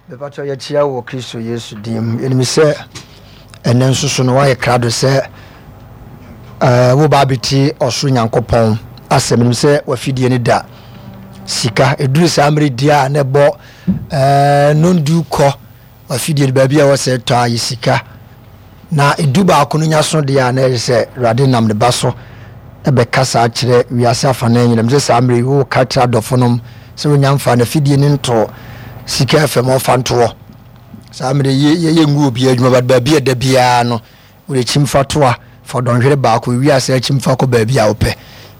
Mepakyɛw yɛkyia wo wɔ Kristo Yesu din mu. Yɛnim sɛ ɛnɛ nso so no woayɛ krado sɛ eh, woba abɛtie ɔsoro Nyankopɔn asɛm. Menim sɛ wafidie no da sika. Ɛduru saa mmerɛ di a na ɛbɔ eh, nondu kɔ W'afidie no baabi a ɛwɔ sɛ ɛtɔ a yɛ sika na edu baako no nya so deɛ a na ɛyɛ sɛ Awurade nam ne ba so bɛkasa akyerɛ wiase afanan nyinaa. Mesɛ saa mmerɛ yi woka kyerɛ adɔfonom sɛ wonya mfa n'afidie no nto sika fam ɔmfa ntoɔ. Saa mmerɛ yi yɛ ngu obiara adwuma but baabi a ɛda biara no wode kyimfa toa fa dɔnhwere baako ewie a saa kyimfa kɔ baabi a wopɛ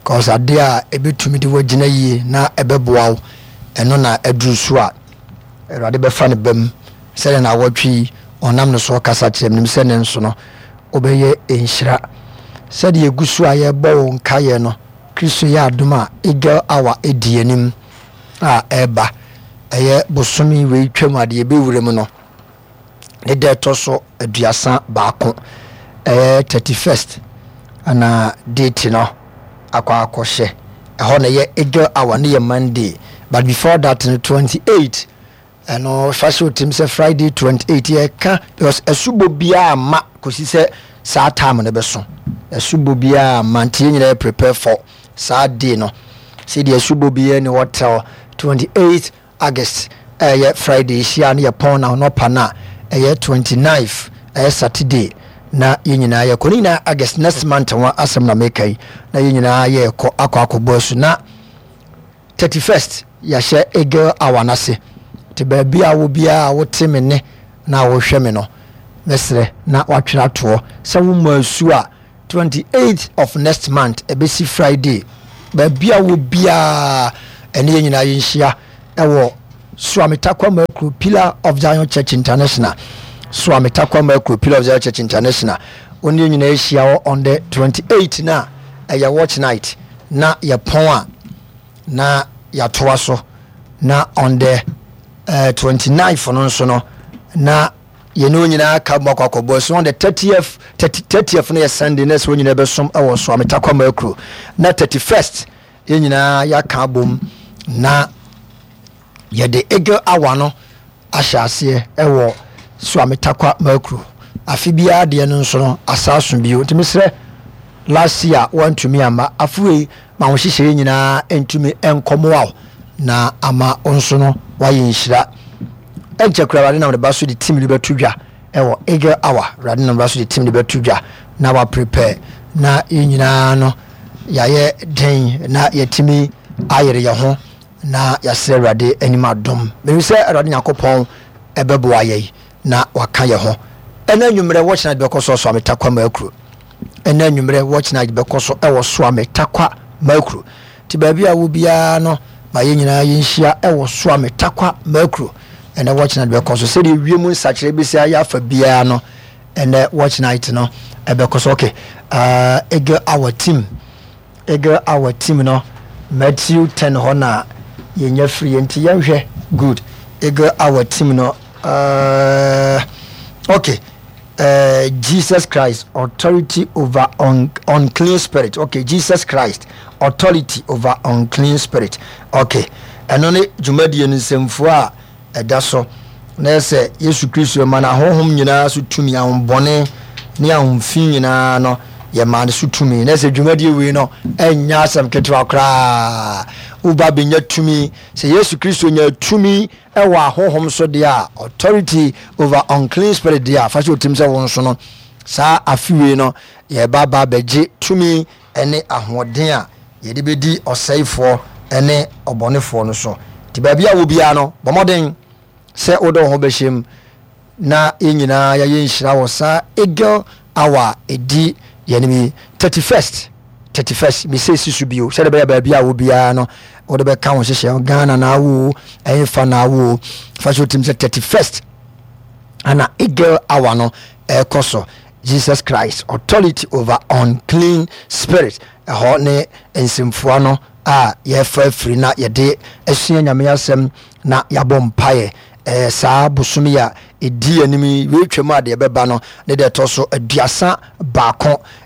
cause adeɛ a ɛbɛtumi de woagyina yie na ɛbɛboa wo ɛno na aduru so a Awurade bɛfa ne ba mu sɛdeɛ naawɔtwe yi ɔnam ne so ɔkasa kyerɛ me. Menim sɛ ne nso no wobɛyɛ nhyira. Sɛdeɛ yɛgu so a yɛrebɔ wo nkaeɛ no, Kristo yɛ adom a Eagle Hour di anim a ɛreba. Ɛyɛ bosome wei twam a deɛ yɛbɛwura mu no, ne da ɛtɔ so 31, ɛyɛ 31st ana date no akɔ akɔhyɛ ɛhɔ na ɛyɛ eagle hour ne yɛ Monday but before that no 28 ɛno fa hyɛ otim sɛ Friday 28 yɛka because ɛsobɔ biara ma kɔsi sɛ saa time no bɛso ɛsobɔ biara ma nti yɛn nyinaa yɛ prepare for saa day no sɛdeɛ ɛsobɔ biara ni hɔ till 28 August a ɛyɛ Friday hyia no yɛ pɔn na anɔpa no a ɛyɛ 29th ɛyɛ Saturday na yɛn nyinaa yɛkɔ ne nyinaa August next month ho asɛm na meka yi na yɛn nyinaa yɛkɔ akɔ akɔbɔ asu na 31st yɛahyɛ Eagle hour no ase nti baabi a wo biara a wote me ne na wohwɛ me no mɛsrɛ na watwerɛ atoɔ sɛ wommɔ asu a 28th of next month ɛbɛsi Friday baabi a wɔ biara ɛne yɛn nyinaa yɛnhyia ɛwɔ Suame Takwa Makuro Pillar of Zion Church International Suame Takwa Makuro Pillar of Zion Church International wɔn yɛn nyinaa ahyia hɔ on the 28 na ɛyɛ watch night na yɛpɔn a na yɛatoa so na on the uh, 29th no nso no na Yɛne wɔn nyinaa ka bom akɔ akɔbɔ asu. On the 30th, 30, 30th no yɛ Sunday na ɛsɛ wɔn nyinaa bɛsom wɔ Soame Takwama Akuro. Na 31st yɛn nyinaa yɛaka abom na yɛde Eagle Hour no ahyɛ aseɛ wɔ Soame Takwa Makuro. Afe biara deɛ no nso no asa aso bio. Nti mesrɛ last year wantumi amma afe wei ma wo nhyehyɛeɛ nyinaa ntumi nkɔmmoa wo na ama wo nso no wayɛ nhyira. Ɛnkyɛ koraa Awurade nam ne ba so de team no bɛto dwa ɛwɔ Eagle Hour. Awurade nam ne ba so de team no bɛto dwa na wa prepare na yɛn nyinaa no yɛayɛ den na yɛatumi ayere yɛn ho na yɛasrɛ Awurade anim adom. Menim sɛ Awurade Nyankopɔn ɛbɛboa yɛn na waka yɛn ho. Ɛna anwummerɛ watch night bɛkɔ so Ɔsoame Takwa Makuro. Ɛna anwummerɛ watch night bɛkɔ so ɛwɔ Soame Takwa Makuro. Nti baabi a wɔ biara no ma yɛn nyinaa yɛnhyia ɛwɔ Soame Takwa Makuro. Ɛnɛ watch night bɛkɔ so sɛdeɛ wiem nsakyerɛ bɛsi ayɛ afa biara no ɛnɛ watch night no ɛbɛkɔ so. Okay, uh, Eagle Hour team. Eagle Hour team no Matthew 10 hɔ na yɛnya firi yɛ nti yɛnhwɛ good Eagle Hour team no uh, okay uh, Jesus Christ authority over un, unclean spirit okay Jesus Christ authority over unclean spirit okay ɛno ne dwumadie no nsɛmfua a ɛda so, na ɛyɛ sɛ Yesu Kristo ma no ahonhom nyinaa so tumi, ahombɔne ne ahomfi nyinaa no, yɛmaa no so tumi. Na ɛsɛ dwumadie wei no ɛnyɛ asɛm ketewa koraa. Woba bɛnya tumi. Sɛ Yesu Kristo nya tumi ɛwɔ ahonhom so deɛ a, authority over unclean spirit deɛ a, fa hyɛ otim sɛ wo nso no, saa afe wei no, yɛba ba bɛgye tumi ne ahoɔden a yɛde bɛdi ɔsɛefoɔ ne ɔbɔnefoɔ no so. Nti baabi a wɔ biara no, bɔ mmɔden sɛ wode wo ho bɛhyɛ mu na yɛn nyinaa yɛayɛ nhyira wɔ saa Eagle Hour a ɛdi yɛn anim yi, 31st, 31st, mesɛ si so bio, sɛdeɛ ɛbɛyɛ baabi a wɔ biara no, wode bɛka wo nhyehyɛ ho, Ghana na awo o, ɛhefa na awo o, fa hyɛ wo tirim sɛ 31st ana Eagle Hour no ɛrekɔ so. Jesus Christ, authority over unclean spirit, ɛhɔ ne nsɛmfua no a yɛfa afiri na yɛde asua Nyame asɛm na yɛabɔ mpaeɛ. Ɛɛ saa bosome yi a ɛdi anim yi, wei twam a deɛ ɛbɛba no ne deɛ ɛtɔ so 31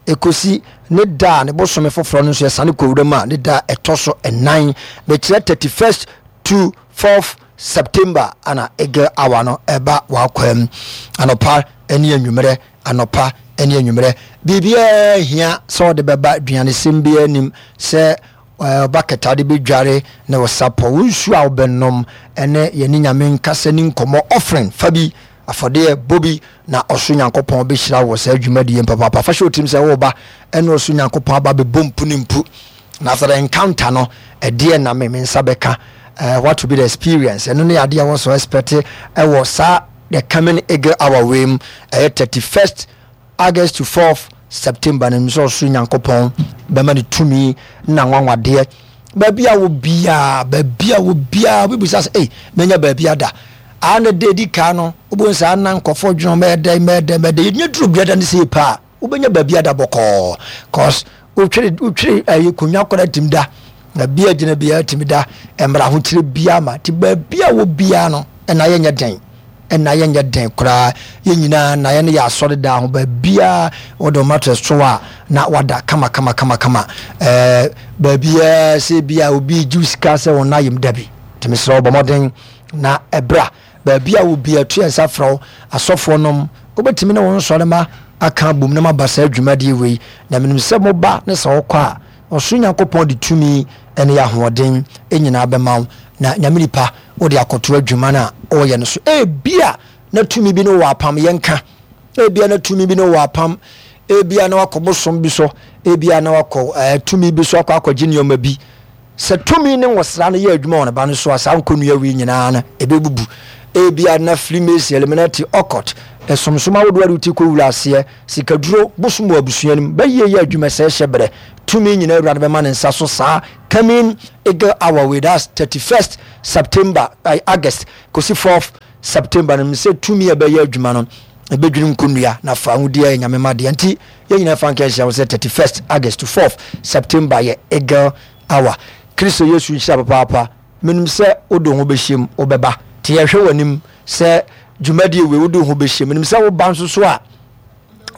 ɛkɔsi ne da a ne bosome foforɔ no nso yɛsane kɔ wuram a ne da a ɛtɔ so ɛnan, mekyerɛ 31st to 4th. September ana Eagle Hour no ɛba w'akwaa mu anɔpa ne anwummerɛ, anɔpa ne anwummerɛ. Biribiara hia sɛ ɔde bɛba, aduanesɛm biara nim sɛ bucket a wode bɛdware ne wo sapɔ, wo nsuo a wobɛnom ne yɛne Nyame nkasa ni nkɔmmɔ, offering fa bi, afɔdeɛ bɔ bi na ɔsoro Nyankopɔn bɛhyira wo wɔ saa dwumadie papaapa. Fa hyɛ wo tirim sɛ woreba ɛne ɔsoro Nyankopɔn aba bɛbɔ mpu ne mpu. Na after the encounter no, ɛdeɛ na me me nsa bɛka. What will be the experience? Ɛno ne adeɛ a wɔsɔ expect ɛwɔ saa the coming eagle hour wei mu. Ɛyɛ 31st August to 4th September no, sɛ ɔsoro Nyankopɔn bɛma ne tumi na nwanwadeɛ. Baabi a wɔ biara, baabi a wɔ biara, wobɛbisa sɛ, ei, manya baabi ada. A na da edi kan no, wobɛhu sɛ ana nkɔfoɔ dwene mɛyɛ dɛn, mɛyɛ dɛn, mɛyɛ dɛn. Yɛnya duru biada no sɛ paa. Wobɛnya baabi ada bɔkɔɔ cause wotwere wotwere ɛyi konwa koraa tumi da na bia gyina biara tumi da mmara ahokyere biara ma ti baabi a wɔ biara no ɛna yɛnyɛ den ɛna yɛnyɛ den koraa yɛn nyinaa na yɛn yɛ asɔre daa ho baabiara wɔde wɔn mattress to a na wada kama kama kama kama ɛɛ baabiara sɛ bia obi gye sika sɛ wɔn ayɛm dabi tumi srɛ wɔbɔ mmɔden na ɛbra. Baabi a obi atu yɛn nsa frɛ wo, asɔfoɔ nom, wobɛtumi ne wo nsɔremma aka abom na moaba saa dwumadie wei. Na menim sɛ moba ne sɛ wokɔ a, ɔsoro Nyankopɔn de tumi ne ahoɔden nyinaa bɛma wo, na Nyame nipa, wode akɔto adwuma no a woreyɛ no so. Ebia na tumi bi ne wo wɔ apam, yɛnka. Ebia na tumi bi ne wo wɔ apam, ebia na wakɔ bosom bi so, ebia na wakɔ eh, tumi bi so akɔ akɔgye nneɛma bi. Sɛ tumi ne nwosra no yɛ adwuma wɔ ne ba no so a, saa nkonnua wei nyinaa no, ɛbɛbubu. Ebia na Freemason, Illuminati, Occult, ɛsomsom ahodoɔ a de wo ti kɔwura aseɛ, sikaduro, bosom wɔ abusua no mu, bɛyie yɛ adwuma sɛe hyɛ berɛ. Tumi nyinaa Awurade bɛma ne nsa so saa coming Eagle Hour wei, that's 31st September, ay, August, kɔsi 4th September no, sɛ tumi a ɛbɛyɛ adwuma no, ɛbɛdwiri nkonnua na fa ahodie ayɛ Nyame ma deɛ. Nti, yɛn nyinaa fa nka nhyia ho sɛ 31st August to 4th September yɛ Eagle Hour. Kristo Yesu nhyira papaapa. Menim sɛ wode wo ho bɛhyɛ mu, wobɛba. Nti yɛhwɛ w'anim sɛ dwumadie wei wode wo ho bɛhyɛ mu. Menim sɛ woba nso so a,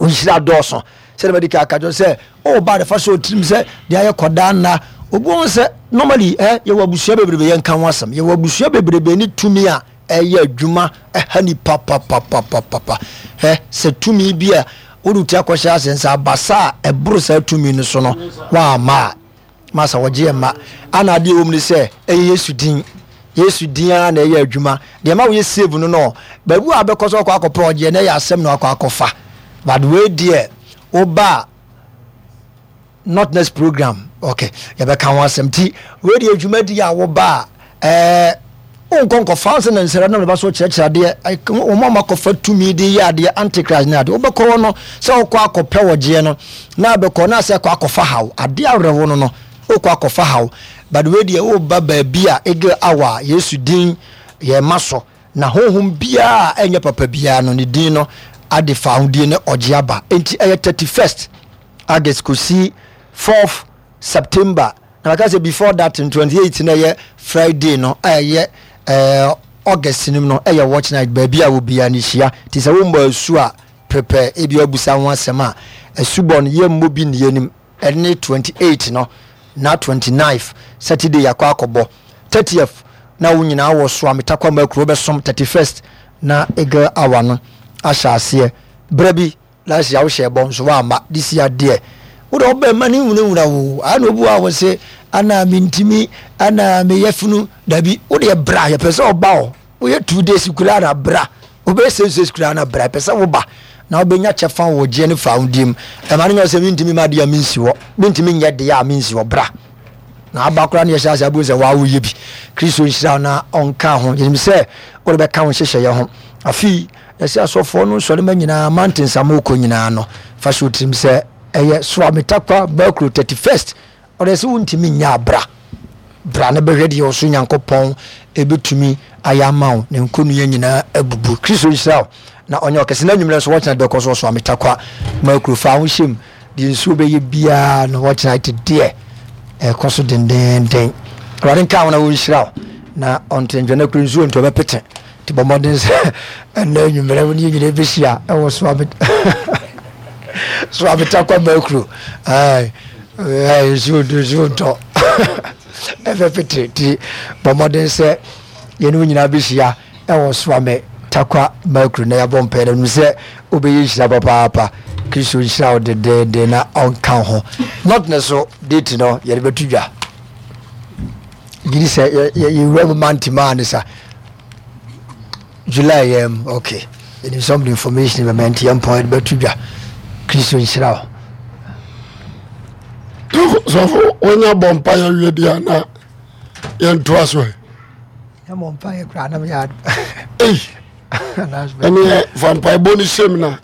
wo nhyira dɔɔso. Sɛdeɛ madi kan aka kyerɛ sɛ woba de fa hyɛ wo tirim sɛ deɛ ayɛ kɔdaa nna. Obi wɔ hɔ sɛ normally eh, yɛwɔ abusua bebrebe yɛnka ho asɛm. Yɛwɔ abusua bebrebe ne tumi a ɛyɛ adwuma ɛha nipa papapapapa. Hɛ sɛ tumi bi a wode wo ti akɔhyɛ ase nsa abasa a ɛboro saa tumi no so no woamma a masa wɔgye yɛn mma. Ana adeɛ ɛwɔ mu ne sɛ ɛyɛ Yesu din. Yesu din ara na ɛyɛ adwuma. Deɛ ɛma woyɛ save no no baabi a wobɛkɔ sɛ ɔkɔ akɔpɛ ɔgyeɛ na ɛyɛ asɛm na wakɔ akɔfa. But wei deɛ woba a not next program okay yɛbɛka ho asɛm ti wei deɛ dwumadi a woba a ɛɛ wonkɔ nkɔfa sɛ na nsɛrɛ na ba so kyerɛkyerɛ adeɛ wɔn a makɔfa tumi de yɛ adeɛ antichrist ne adeɛ wobɛkɔ hɔ no sɛ wokɔ akɔpɛ wɔgyeɛ no na abɛkɔ na sɛ kɔ akɔfa haw adeɛ awerɛho no no wokɔ akɔfa haw but wei deɛ woba baabi a eagle hour Yesu din yɛ ma so Na honhom biara a ɛnyɛ papa biara no, ne din no ade fawohodie ne ɔgye aba. Enti ɛyɛ 31st August kɔsi 4th September. Na maka sɛ before that no 28 na ɛyɛ Friday no a ɛyɛ eh, August no mu no ɛyɛ watch night baabi a obiara no hyia. Nti sɛ wommɔ asu a prepare ebi abusa ho asɛm a asubɔ no yɛmmɔ bi nni anim. Ɛne 28 no na 29th Saturday yɛakɔ akɔbɔ 30th na wo nyinaa wɔ so a metakwa ma akuro bɛsom 31st na eagle hour no ahyɛ aseɛ berɛ bi last year wohyɛ bɔ nso woamma this year deɛ wode ɔbɛ ma ne nwunawuna wo ana obi wɔ a wɔ se ana mentimi ana meyɛ funu dabi wode bra yɛpɛ sɛ ɔba hɔ Woyɛ 2 days koraa na bra, wobɛyɛ 6 days koraa na bra, ɛpɛ sɛ woba na wobɛnya kyɛfa wɔ gyeɛ ne fawodeɛ mu. Ɛma no nyɛ sɛ mentumi ma adeɛ a mensi hɔ, mentumi nyɛ deɛ a mensi hɔ, bra. Na aba koraa ne yɛhyɛ ase abɛhu sɛ waa woyɛ bi. Kristo nhyira wo na ɔnka ho. Yɛnim sɛ wode bɛka wo nhyehyɛeɛ ho. Afei, yɛsɛ asɔfoɔ no nsɔrema nyinaa, mountains a mokɔ nyinaa no, fa hyɛ wo tirim sɛ ɛyɛ Soametakwa Bakuro 31st Ɔdɛ sɛ wontumi nyɛ a bra. Bra na bɛhwɛ deɛ ɔsoro Nyankopɔn ɛbɛtumi ayɛ ama wo na nkonnua nyinaa abubu. Kristo nhyira wo na ɔnyɛ ɔkɛse. Na anwummerɛ nso wɔkyena bɛkɔ so ɔso ametakwa ma kuro fa ho hyɛm deɛ nsuo bɛyɛ biara no wɔkyena te deɛ ɛkɔ so dendenden. Awurade nka wo na wɔnhyira wo na ɔnte ndwene kuro nsuo nti ɔbɛpete nti bɔ mmɔden sɛ ɛnna anwummerɛ wo ne yɛn nyinaa bɛhyia ɛwɔ so abet so abetakwa ma kuro nsuo nsuo ntɔ ɛbɛpete nti bɔ mmɔden sɛ. Yɛne wo nyinaa bɛhyia ɛwɔ Soame Tarkwa Mercury na yɛabɔ mpaeɛ na menim sɛ wobɛyɛ nhyira papaapa. Kristo nhyira wo dendeenden na ɔnka wo ho. Not ne so date no yɛde bɛto dwa. Gyidi sɛ yɛwura mu mante maa ne sa. July yɛm okay. Yɛnim sɛ ɔmde information bɛma nti yɛmpɔn yɛde bɛto dwa. Kristo nhyira wo. Sɔfo wonya bɔ mpaeɛ wie deɛ na yɛntoa so ɛ. Yɛmmɔ mpaeɛ koraa na meyɛ ade. Ei, ɛneɛ fa mpaebɔ no hyɛm na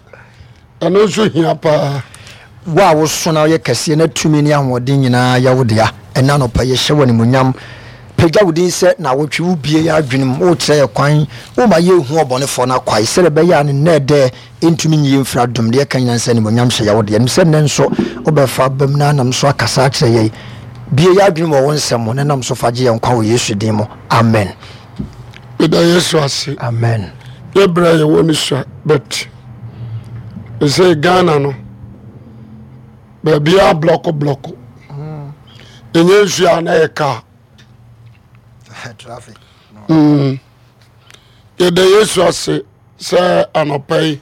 ɛno nso hia paa. Wo a woso na woyɛ kɛseɛ na tumi ne ahoɔden nyinaa yɛ wo dea, ɛnnɛ anɔpa yi yɛhyɛ wo animuonyam, pagya wo din sɛ naawɔtwe, wobue yɛn adwene mu, wokyerɛ yɛn kwan, woma yɛhu ɔbɔnefoɔ no akwae, sɛdeɛ ɛbɛyɛ a ne nnɛɛdɛɛ ntumi nyi yɛn mfiri adom, deɛ ɛka nyinaa ne sɛ animuonyam hyɛ yɛ wo dea. Nim sɛ nnɛ nso wobɛfa abam na anam so akasa akyerɛ yɛn. Bue yɛn adwene mu wɔ wo nsɛm mu na nam so fa gye yɛn nkwa wɔ Yesu din mu. Amen. Meda Yesu ase. Amen. Yɛ berɛ a yɛwɔ no sua but ɛsɛ Ghana no baabiara blɔko blɔko. Ɛnyɛ nsuo a na yɛ kaa. Traffic. Mm. Yɛda Yesu ase sɛ anɔpa yi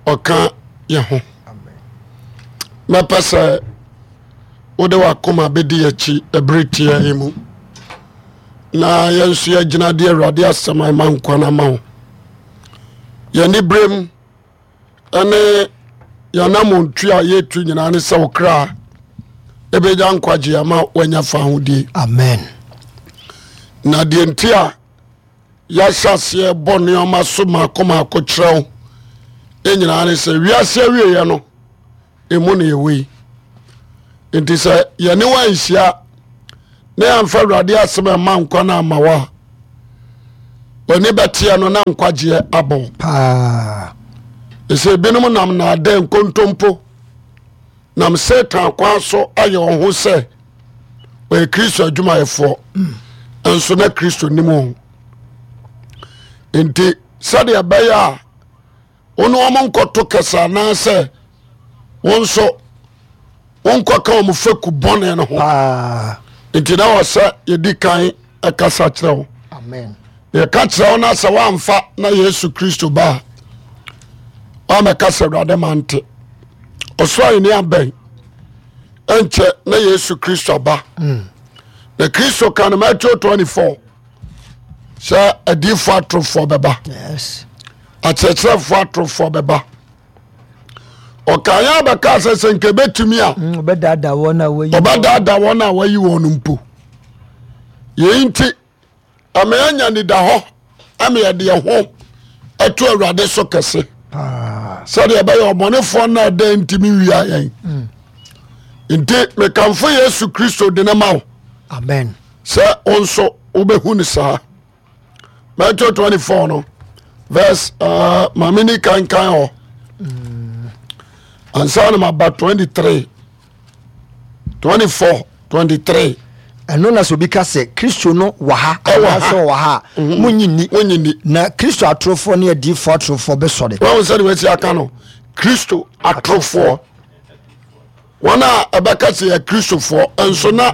ɔka yɛ ho. Mɛpɛ sɛ wode wakoma bɛdi akyi ɛberɛ tia yi mu na yɛn nso yɛagyina de awurade asɛm a ɛma nkwa no ama wo. Yɛne berɛm ɛne yɛanamontu a yɛtu nyinaa ne sɛ wo kra ɛbɛnya nkwagye ama wanya fa ahodie. Amen. Na deɛ nti a yɛahyɛ aseɛ bɔ nneɛma so maako maako kyerɛ wo nyinaa ne sɛ wiase awieɛ no ɛmu ne yɛwɔ yi. Nti sɛ yɛne wo anhyia na yɛamfa awurade asɛm ɛma nkwa no ama wo a w'ani bɛteɛ no na nkwagyeɛ abɔ wo. Paa. Ɛsɛ ebinom nam naadɛ nkontompo nam Satan kwan so ayɛ wɔn ho sɛ wɔyɛ Kristo adwumayɛfoɔ nso na Kristo nim wɔn. Nti sɛdeɛ ɛbɛyɛ a wo ne wɔn nkɔto kɛse anaasɛ wo nso wonkɔka wɔn fɛku bɔne no ho nti na wɔ sɛ yɛdi kan ɛkasa kyerɛ wo. Amen. Yɛka kyerɛ wo no sɛ woamfa na Yesu Kristo ba a woamɛka sɛ Awurade ma nte ɔsoro ahenni abɛn ɛnkyɛ na Yesu Kristo aba. Na Kristo ka no Matthew 24 sɛ adiifoɔ atorofoɔ bɛba, akyerɛkyerɛfoɔ atorofoɔ bɛba. Ɔka yɛn abɛka sɛ sɛ nka ɛbɛtumi a ɔbɛdaadaa wɔn a wɔayi ɔbɛdaadaa wɔn a wɔayi wɔn no mpo. Yei nti ama yɛanya nidahɔ ama yɛde yɛn ho ato Awurade so kɛse sɛdeɛ ɛbɛyɛ ɔbɔnefoɔ no a ɛdɛn ntumi wia yɛn. Nti mekamfo Yesu Kristo de ne ma wo. Amen. Sɛ wo nso wobɛhu no saa. Matthew 24 no verse uh, maame ni kankan hɔ ansa na maba 23 24 23. Ɛno na sɛ obi ka sɛ Kristo no wɔ ha anaasɛ ɔwɔ ha a, mhm. monnye nni. Monnye nni. Na Kristo atorofoɔ ne adiyifoɔ atorofoɔ bɛsɔre. Wɔn sɛ de wɔasi aka no Kristo atorofoɔ. Wɔn a ɛbɛka sɛ yɛ Kristofoɔ nso na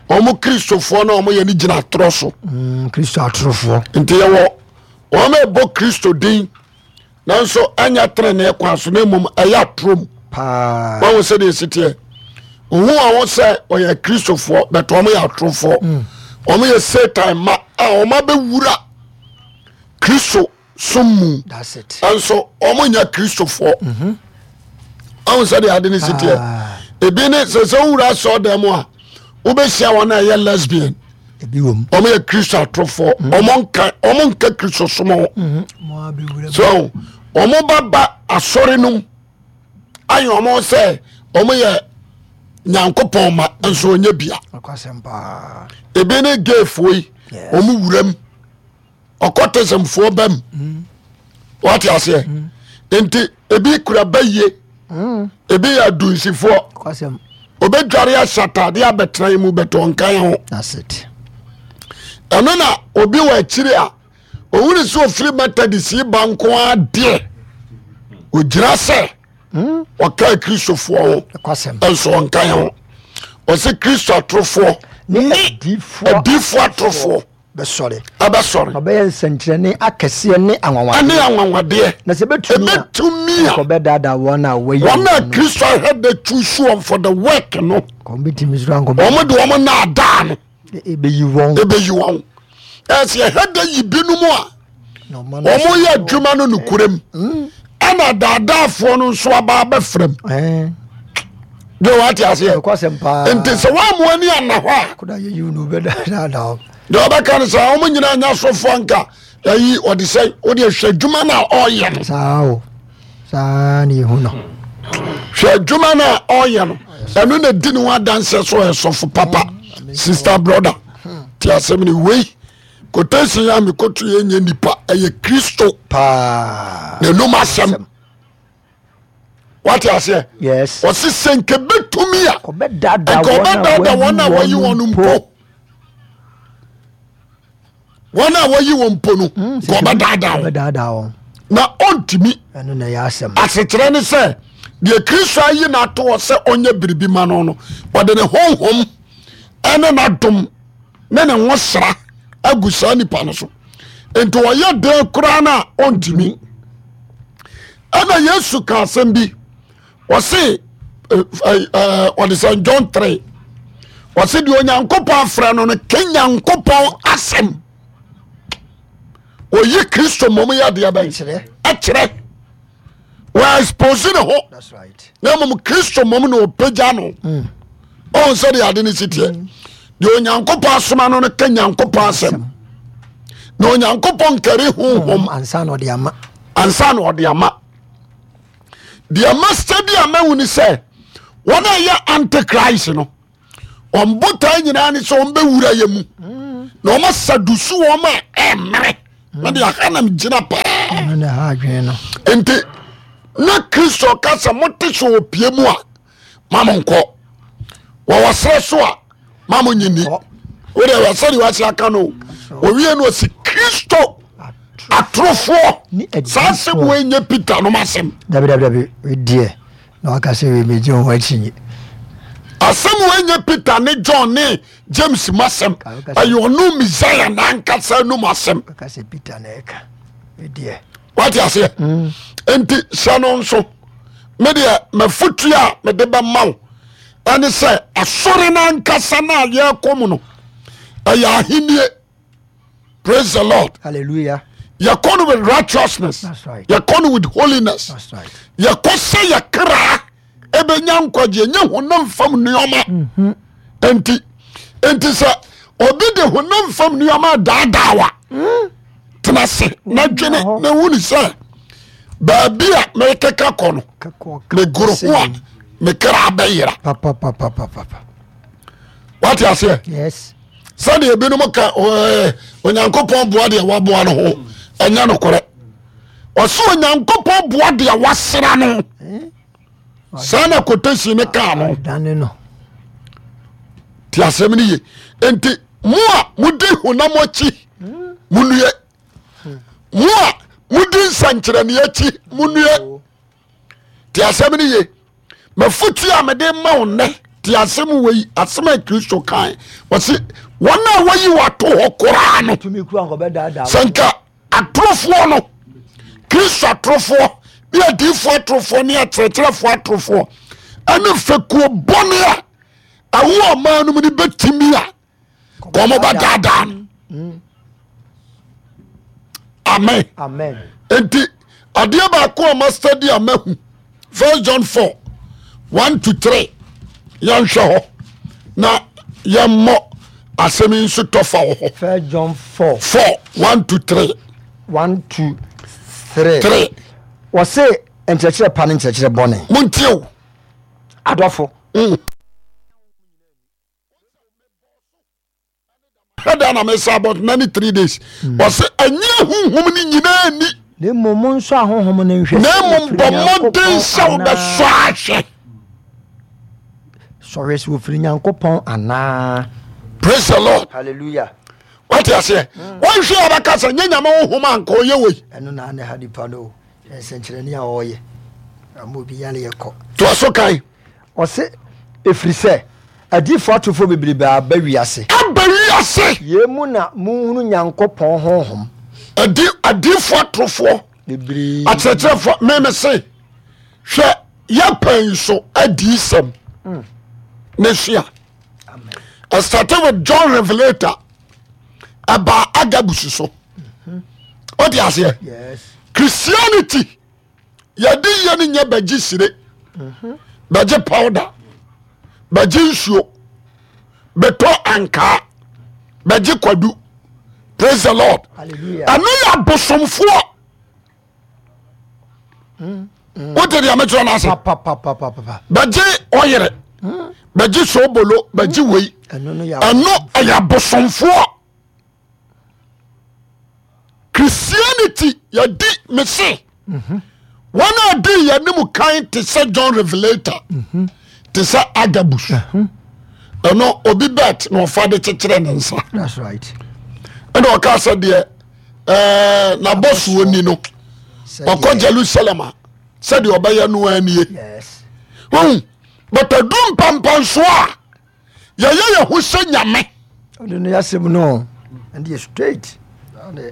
wɔn Kristofoɔ na wɔn yɛ no gyina atorɔ so. Mm, Kristo atorofoɔ. Nti yɛwɔ wɔn a ɛbɔ Kristo din nanso ɛnyɛ tenenee kwan so na mmom ɛyɛ atorɔ mu. Paa. Wɔn sɛ deɛ esi teɛ. Ohun wɔn sɛ wɔyɛ Kristofoɔ bɛtɛ wɔn yɛ atorofoɔ. Mm. Wɔn yɛ Satan ma a wɔn abɛwura Kristo som mu nso wɔn nyɛ kristofoɔ mhm. ɔn sɛ deɛ ade ne si teɛ ah. Ebi ne sɛ sɛ wowura asɔɔ dan mu a wobɛhyia wɔn a ɛyɛ lesbian wɔn yɛ kristo atorofoɔ mhm. wɔn nka wɔn nka kristo som ho mhm. So wɔn ba ba asɔre no mu ayɛ wɔn sɛ wɔn yɛ nyankopɔn ma nso wɔnyɛ bia ebi ne gayfoɔ yi wɔn wura mu. Ɔkɔtɛsɛmfoɔ ba mu mm. wate aseɛ mm. Nti ebi kura bayie mm. Ebi yɛ adunsifoɔ obɛdware ahyɛ ataadeɛ abɛtena yi mu bɛtɔ nkan ho ɛno na obi wɔ akyiri a ɔhunu sɛ ɔfiri Methodist yi ba nko adeɛ ɔgyina sɛ ɔka kristofoɔ ho nso ɔnkan ho ɔsɛ kristo atorofoɔ ne adiifoɔ atorofoɔ. Bɛsɔre. Ɛbɛsɔre. Na ɔbɛyɛ nsɛnkyerɛnne akɛseɛ ne anwanwadeɛ. Ɛne anwanwadeɛ. Na sɛ ɛbɛtumi a. Ɛbɛtumi a. Nka ɔbɛdaadaa wɔn a wɔayi wɔn a Kristo ahwɛ de choose wɔn for the work no. Wɔn bɛtumi so ankɔ. Wɔn de wɔn naadaa no. Ɛbɛyi wɔn. Ɛbɛyi wɔn. Ɛsɛ yɛhwɛ de yi binom a. Wɔn yɛ adwuma no nokorɛ mu. Ɛna daadaafoɔ no nso aba abɛfra mu. De wate aseɛ. Nti sɛ wɔn amoa ni ana hɔ a. Deɛ ɔbɛka no sɛ wɔn nyinaa nya sɔfoɔ nka ayi ɔde sɛ wode hwɛ adwuma no a ɔyɛ no. Saa o saa na ehu no. Hwɛ adwuma no a ɔyɛ no ɛno na di ne ho adanseɛ so ɔyɛ sɔfo papa sister brother te asɛm no wei quotation a mekoto yɛ nyɛ nipa ɛyɛ Kristo paa n'anum asɛm. Wate aseɛ? Yes. Ɔse sɛ nka bɛtumi a ɔbɛdaadaa nka ɔbɛdaadaa wɔn a wɔyi wɔn mpo. Wɔn a wɔyi wɔn mpo no nka ɔbɛdaadaa wɔn. Na ɔntumi. Ɛno na ɛyɛ asɛm. Asekyerɛ ne sɛ deɛ Kristo ayi no ato hɔ sɛ ɔnyɛ biribi ma no no ɔde ne honhom ɛne n'adom ne ne ho sra agu saa nipa no so nti ɔyɛ den koraa no a ɔntumi. Ɛna Yesu ka asɛm bi ɔse ɔde sɛ John 3 ɔse deɛ Onyankopɔn afrɛ no no ka Nyankopɔn asɛm oyi Kristo mmom yɛ adeɛ bɛn ɛkyerɛ wɔ expose ne ho na mmom Kristo mmom na ɔpagya no mm. ɔhu sɛ deɛ ade no si teɛ mm. deɛ Onyankopɔn asoma no no ka Nyankopɔn asɛm na Onyankopɔn nkari honhom ansa na ɔde ama ansa na ɔde ama deɛ masta bi a mahu ne sɛ wɔn a ɛyɛ antichrist no wɔn botae nyinaa ne sɛ wɔn bɛwura yɛ mu na wɔn asadusu wɔn a ɛmmerɛ na deɛ aha nam gyina paa nti na Kristo ka sɛ mote sɛ ɔpie mu a ma mo nkɔ wɔwɔ serɛ so a ma mo nye ni wode wɔ sɛdeɛ wase aka no owie no ɔsi Kristo atorofoɔ saa asɛm wei nyɛ Peter nom asɛm. Dabi dabi dabi deɛ na waka sɛ wei megye ho akyi. Asɛm wei nyɛ Peter ne John ne James mu asɛm ɛyɛ ɔno Messiah n'ankasa num asɛm. Waka sɛ Peter na ɛka deɛ. Wate aseɛ mm. nti hyɛ no nso me deɛ mafotu a mede bɛma wo ɛne sɛ asɔre no ankasa no a yɛrekɔ mu no ɛyɛ ahennie. Praise the Lord. Hallelujah. Yɛkɔ no with righteousness. That's right. Yɛkɔ no with holiness. That's right. Yɛkɔ sɛ yɛkra ɛbɛnya nkwagye ɛnyɛ honam fam nneɛma. Mm-hmm. Nti nti sɛ obi de honam fam nneɛma daadaa wa mm. tena se na dwene na hu ne sɛ baabi a mekeka kɔ no megoro ho a mekra bɛyera. Wate aseɛ? Yes. Sɛdeɛ ebinom ka Onyankopɔn boa deɛ waboa no ho ɛnyɛ nokorɛ. Ɔsɛ Onyankopɔn boa deɛ wasra no. Saa na quotation ne kaa no. Te asɛm no ye. Nti mo a modi honam akyi monue. Mo a modi nsɛnkyerɛnne akyi monue. Te asɛm no ye. Mafotu a mede ma wo nnɛ te asɛm wei asɛm a Kristo kae wɔse wɔn a wɔyi wɔato hɔ koraa no sɛ nka atorofoɔ no Kristo atorofoɔ ne adiifoɔ atorofoɔ ne akyerɛkyerɛfoɔ atorofoɔ ɛne fekuo bɔne a ɛwɔ ɔman no mu no bɛtumi a kɔn bɛdaadaa no mm. amen amen nti adeɛ baako a ma study a mahu first John 4 1 to 3 yɛnhwɛ hɔ na yɛmmɔ asɛm yi nso tɔfa wɔ hɔ first John 4 4 1 to 3 1 to 3 3 wɔse nkyerɛkyerɛ pa ne nkyerɛkyerɛ bɔne montie o adɔfo mm. Ɛda na mesa about 93 days. Ɔsɛ ɛnyɛ honhom no nyinaa ni. Na mmom monsɔ ahonhom no nhwɛ. Na mmom bɔ mmɔden sɛ wobɛsɔ ahwɛ. Sɔhwɛ sɛ wɔfiri Nyankopɔn anaa. Praise the Lord. Hallelujah. Wate aseɛ? Hmm. Wɔnhwɛ a bɛka sɛ nyɛ nyame honhom anka ɔyɛ wei. Ɛno na ne ha nipa no nsɛnkyerɛnne a ɔyɛ. Ama obi yare yɛ kɔ. Toa so kan. Ɔse, Ɛfiri sɛ Adiyifoɔ atorofoɔ bebrebe aba wiase. Aba wiase. Yei mu na monhunu Nyankopɔn honhom. Adi adiyifoɔ atorofoɔ. Bebree. Akyerɛkyerɛfoɔ meme se hwɛ yɛ pɛn so adiyisɛm ne sua. I started with John Revelator ɛbaa Agabus so. Wote aseɛ? Christianity yɛde yɛ no nyɛ bɛgye sire bɛgye powder bɛgye nsuo bɛtɔ ankaa bɛgye kwadu praise the lord ɛno yɛ abosomfoɔ wote deɛ mekyerɛ no ase bɛgye ɔyere bɛgye sobolo bɛgye wei ɛno ɛyɛ abosomfoɔ Christianity yɛdi mese wɔn a di yɛn anim kan te sɛ John Revelator te sɛ Agabus ɛno obi bet na ɔfa de kyekyerɛ ne nsa ɛna ɔka sɛ deɛ ɛɛ n'abɔsoɔ ni no ɔkɔ Jerusalem a sɛdeɛ ɔbɛyɛ no anie but adu mpampansoɔ a yɛyɛ yɛ ho sɛ nyame. Ɔde no yasɛm no ɛnde yɛ straight.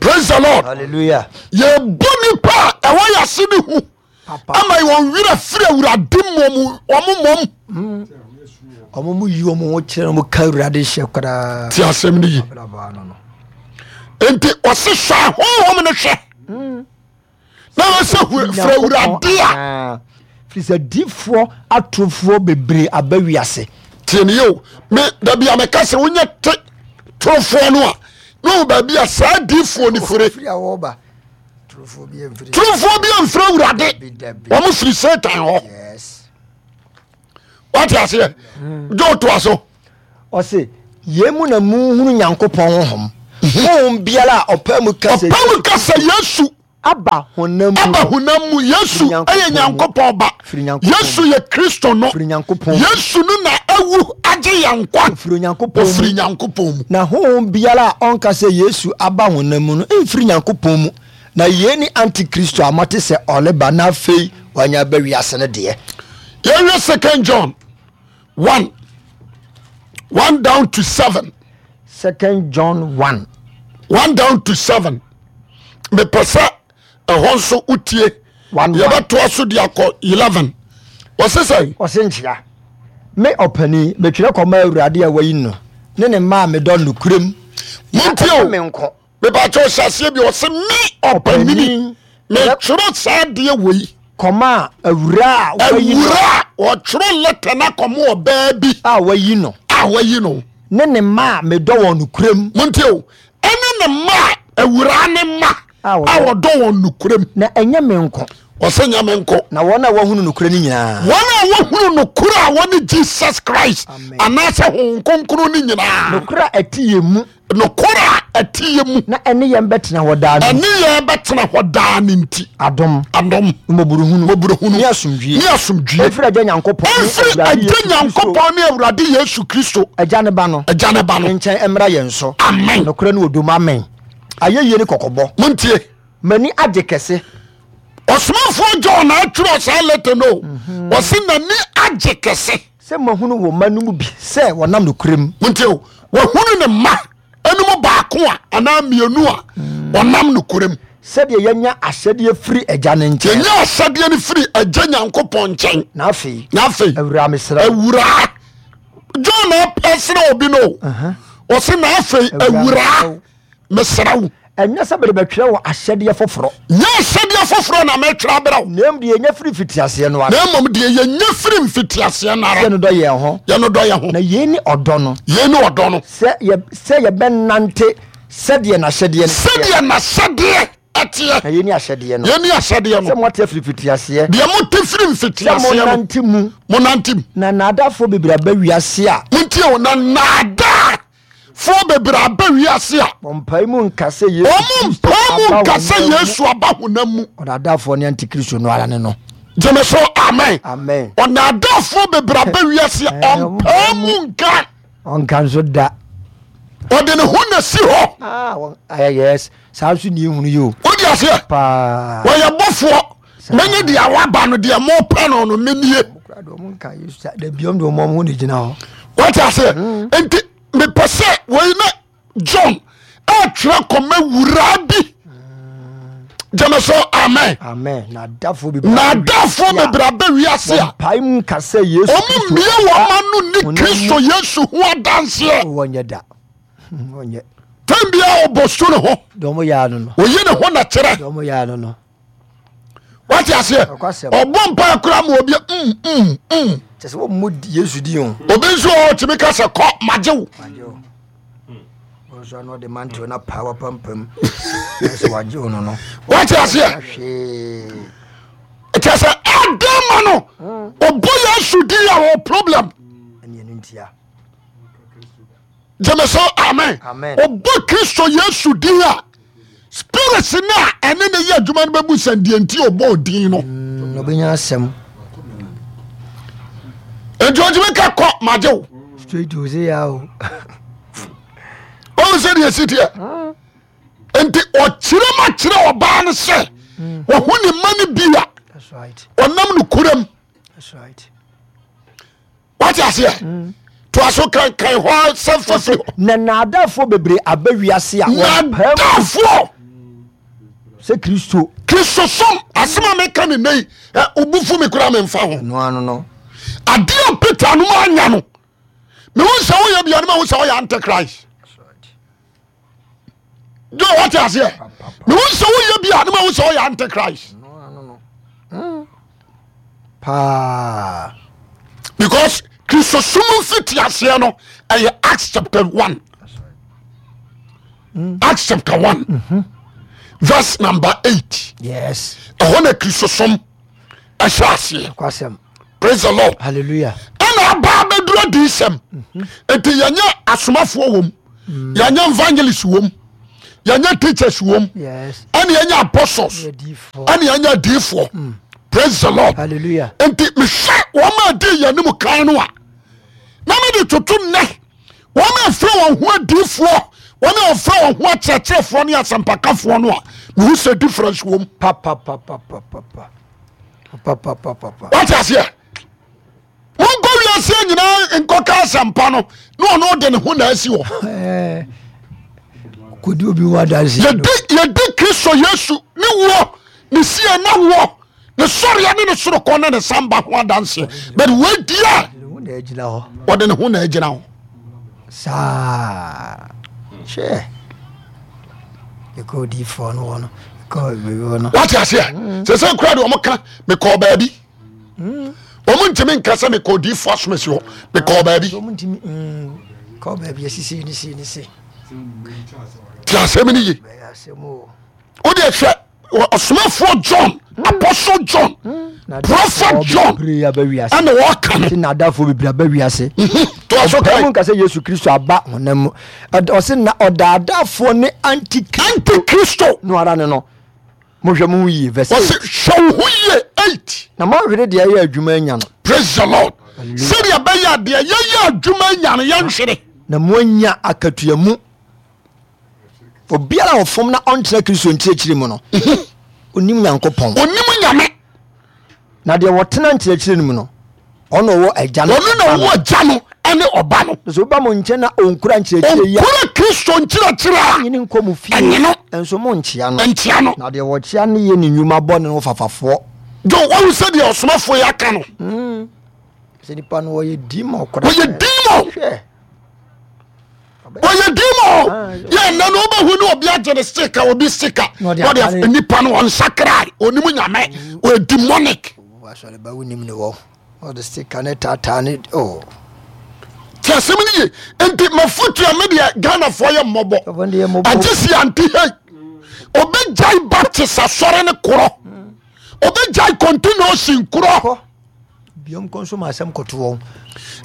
Praise the Lord. Hallelujah. Yɛbɔ nipa a ɛwɔ yɛase ne hu ama wɔn werɛ firi awurade mmom wɔn mmom. Hmm. Wɔn mu yi wɔn ho kyerɛ wɔn ka awurade hyɛ koraa. Ti asɛm no yi. Nti ɔse hwɛ ahonhom no hwɛ. Hmm. na wɔsɛ frɛ awurade a firi sɛ difoɔ atorofoɔ bebree aba wiase tie ne yio me dabi a meka sɛ wonyɛ te torofoɔ no a na ɔwɔ baabi a saa difoɔ no fire torofoɔ bi amfiri awurade wɔn firi satan hɔ wate aseɛ gye wotoa so ɔse yei mu na muhunu nyankopɔn honhom honhom biara a ɔpɛ mu ka sɛ ɔpɛ mu ka sɛ yesu aba honam mu aba honam mu yesu ɛyɛ nyankopɔn ba yesu yɛ kristo no yesu no na awu agye yɛn nkwa ofiri nyankopɔn ofiri nyankopɔn mu na honhom biara a ɔnka sɛ yesu aba honam mu no mfiri nyankopɔn mu na yei ne antikristo a moate sɛ ɔreba na afei wanya aba wiase no deɛ yɛhwɛ second john 1 1 down to 7 second john 1 1 down to 7 mepɛ sɛ ɛhɔ nso wotie yɛbɛtoa so de akɔ 11 wɔse sɛ ɔse nkyea me ɔpani metwerɛ kɔma awurade a wayi no ne ne mma a medɔ nokorɛm montie o me nko mebakyɛ ɔhyɛ aseɛ bi ɔse me ɔpanini metwerɛ saa adeɛ wei kɔma awura a wayi no awura a ɔtwerɛ lɛtɛ no akɔma ɔbaa bi a wayi no a wayi no ne ne mma a medɔ wɔn nokorɛm montie o ɛne ne mma a awuraa ne mma A a wɔdɔ- wɔdɔ wɔn nokorɛm na ɛnyɛ me nko ɔsɛ nyɛ me nko na wɔn a wɔahunu nokorɛ no nyinaa wɔn a wɔhunu nokorɛ a wɔne jesus christ Amen. anaasɛ honhom kronkron no nyinaa nokorɛ a ɛte yɛn mu Nokorɛ a ɛte yɛ mu. Na ɛne yɛn bɛtena hɔ daa no. Ɛne yɛn bɛtena hɔ daa no nti. Adom. Adom. Mmɔborɔhunu. Mmɔborɔhunu. Ne asomdwie. Ne asomdwie. Ɛmfiri Agya Nyankopɔn ne Ɛmfiri Awurade Agya Yesu Kristo. Nyankopɔn ne Awurade Yesu Kristo. Agya ne Ba no. Agya ne Ba no. Nkyɛn mmra yɛn so. Amen. Nokorɛ ne ɔdɔ mu. Amen. Ayɛyie ne kɔkɔbɔ. Montie. M'ani agye kɛse. Ɔsomafoɔ John na atwerɛ saa lɛtɛ no. Ɔse n'ani agye kɛse. Sɛ mahunu wo mma no mu bi sɛ wɔnam nokorɛ mu. Montie o, wahunu ne mma no mu baako a anaa mmienu a wɔnam nokorɛ mu. Sɛdeɛ yɛanya ahyɛdeɛ firi Agya no nkyɛn. Yɛnya ahyɛdeɛ no firi Agya Nyankopɔn nkyɛn. Na afei. Na afei. Awuraa mesrɛ wo. Awuraa. John na ɛsrɛ obi no. Ɔse na afei awuraa. Mesrɛ wo. Ɛnyɛ sɛ merebɛtwerɛ wo ahyɛdeɛ foforɔ. Nyɛ ahyɛdeɛ foforɔ na meretwerɛ abrɛ wo. Na mmom deɛ yɛnya firi mfitiaseɛ no ara. Na mmom deɛ yɛnya firi mfitiaseɛ no ara. Sɛ yɛnnodɔ yɛn ho. Yɛnnodɔ yɛn ho. Na yei ne ɔdɔ no. Yei ne ɔdɔ no. Sɛ yɛ sɛ yɛbɛnante sɛdeɛ n'ahyɛdeɛ no teɛ. Sɛdeɛ n'ahyɛdeɛ ɛteɛ. Na yei ne ahyɛdeɛ no. Yei ne ahyɛdeɛ no. Sɛ moate afiri mfitiaseɛ. Deɛ mote firi mfitiaseɛ no. Sɛ monante mu. Monante mu. Na nnaadaafoɔ bebree aba wiase a. Montie o, na nnaadaa. Foɔ bebree aba wiase a. Wɔmpae mu nka sɛ Yesu Wɔn Kristo mpae mu aba nka sɛ honam mu. Yesu aba honam mu. Ɔdaadaafoɔ ne antikristo no ara ne no. Gyeme so amen. Amen. Ɔnaadaafoɔ bebree aba wiase a Eh, ɔmpae mu nka. Ɔnka nso da. Ɔde ne ho na si hɔ. Ah, wɔn, ah, yes. Saa nso ni ehunu yi o. Wode aseɛ? Paa. Wɔyɛ bɔfoɔ. Menye deɛ waba no deɛ mopɛ no no menie. Ɔmo nka Yesu sa. Dabi ɔmo de ɔmo ho na gyina hɔ. Wate aseɛ? Nti mepɛ sɛ wei na John ɛtwerɛ kɔma wuraa bi. Gyeme so amen. Amen. Naadafoɔ bebree aba wiase a wɔmpae mu nka sɛ Yesu wɔn mmie wɔn ano ni Kristo Yesu ho adanseɛ. Wɔnyɛ da. Wɔnyɛ. Tɛm biara ɔbɔ su ne ho. Deɛ wɔn yɛ ano no. Oyi ne ho na kyerɛ. Deɛ wɔn yɛ ano no. Wate aseɛ? Ɔbɔ mpa kura ma obi Kyɛ sɛ wɔn mu Yesu di o. Obi nso wɔ hɔ tumi ka sɛ kɔ magye wo. Magye wo. Wɔn nso ano de mantew na paa wapampam. Sɛ wagye wo no no. Wate aseɛ? Hwee. Kyɛ sɛ ɛdɛn ma no ɔbɔ Yesu din a wɔ problem. Ɛne ɛno ntia. Gyeme so amen. Ɔbɔ Kristo Yesu din a spirits no a ɛne ne yɛ adwuma no bɛbu sɛ deɛ nti ɔbɔ din no. Ɔbɛnya asɛm. Nti ɔtumi ka kɔ magye wo. Straight to say ya o. Ɔhu sɛ deɛ ɛsi teɛ. Nti ɔkyerɛ ma kyerɛ ɔbaa no sɛ ɔho ne ma no bi a ɔnam no kuram. That's right. Wate aseɛ? Mm. Toa so kankan hɔ sɛ fafiri hɔ. Na naadafoɔ bebree aba wiase a naadafoɔ sɛ Kristo. Kristo som asɛm a meka ne nnɛ yi wobufu me koraa memfa ho. Ɛno ano no. Adeɛ a Peter nom anya no mehu sɛ woyɛ bia no mahu sɛ woyɛ antichrist. Jo wate aseɛ mehu sɛ woyɛ bi a ne mahu sɛ woyɛ antichrist. Paa. Because Kristosom mfiti aseɛ no ɛyɛ Acts chapter 1. Acts chapter 1 verse number 8. Yes. Ɛhɔ na Kristosom ɛhyɛ aseɛ. Kwasɛm. Praise the Lord. Hallelujah. Ɛna aba abɛduru adiyisɛm. Nti yɛnyɛ asomafoɔ wom, yɛnyɛ evangelist wom, yɛnyɛ teachers wom, Yes. ɛna yɛnyɛ apostles, ɛna yɛnyɛ adiyifoɔ. Praise the Lord. Hallelujah. Nti mehwɛ wɔn a di yɛn anim kan no a, na mede toto nnɛ wɔn a ɛfrɛ wɔn ho adiyifoɔ, wɔn a wɔfrɛ wɔn ho akyerɛkyerɛfoɔ ne asɛmpakafoɔ no a, mehu sɛ difference wom. Pa pa pa pa pa pa pa. Wate aseɛ? Monkɔ wiase nyinaa nkɔka asɛmpa no na ɔno de ne ho na asi hɔ. Kɔdi obi ho adanse. Yɛdi Kristo Yesu ne wuo ne sie na woɔ ne sɔreɛ ne ne sorokɔ ne ne samba ho adanseɛ but wadi a ɔde ne ho na agyina hɔ. Saa hwɛ ɛkɔ odiifoɔ no hɔ no ɛkɔ baabi hɔ no. Wate aseɛ mm. sɛ sɛ kura de wɔn ka mekɔɔ baabi mm. wɔn ntumi nka sɛ mekɔ odiifoɔ asomasi hɔ mekɔɔ baabi. Wɔn ntumi mm, kɔɔ baabi asisi ne si ne si. Ti asɛm ni ye. Wode hwɛ ɔsomafoɔ John apostle John prophet John ɛna wɔka no. Nadafoɔ bebree aba wiase. Toa so kan. Ɔmu nka sɛ Yesu Kristo aba honam mu. Ɔse na ɔdaadaafoɔ ne antikristo. Antikristo. No ara ne no. Mohwɛ mo ho yie verse 8. Ɔse hwɛ wo ho yie 8. Na moahwere deɛ ɛyɛ adwuma anya no. Praise the Lord. Sɛdeɛ ɛbɛyɛ deɛ yɛyɛ adwuma anya no yɛnhwere. Na moanya akatua mu. Obiara a ɔfom na ɔntena Kristo nkyerɛkyerɛ mu no, onim Nyankopɔn. Onim Nyame. Na deɛ wɔtena nkyerɛkyerɛ no mu no, ɔno ɔwɔ agya no. Ɔno na ɔwɔ agya no ɛne ɔba no. Na sɛ obi ba mo nkyɛn na ɔnkura nkyerɛkyerɛ yi a. Ɔnkura Kristo nkyerɛkyerɛ a. Ɛnyene nkɔ mo fie. Ɛnyene. Nso mo nkyea no. Nkyea no. Na deɛ wɔkyea no yɛ ne nnwuma bɔne no fafafoɔ. Jo, wahu sɛ deɛ ɔsomafoɔ yi aka no. Sɛ nipa no ɔyɛ demon koraa. Ɔyɛ demon. Hwɛ. ɔyɛ demon yɛ ɛnɛ no wobɛhu ne obi agye ne sika obi sika ɔde nipa no ɔnsakra ɔnim nyame ɔyɛ demonic ti asɛm no ye nti mafotua me deɛ Ghanafoɔ yɛ mmɔbɔ agye si ante hei obɛgyae Baptist asɔre no korɔ obɛgyae continuation korɔ Biom kɔ nso ma asɛm kɔto wɔn.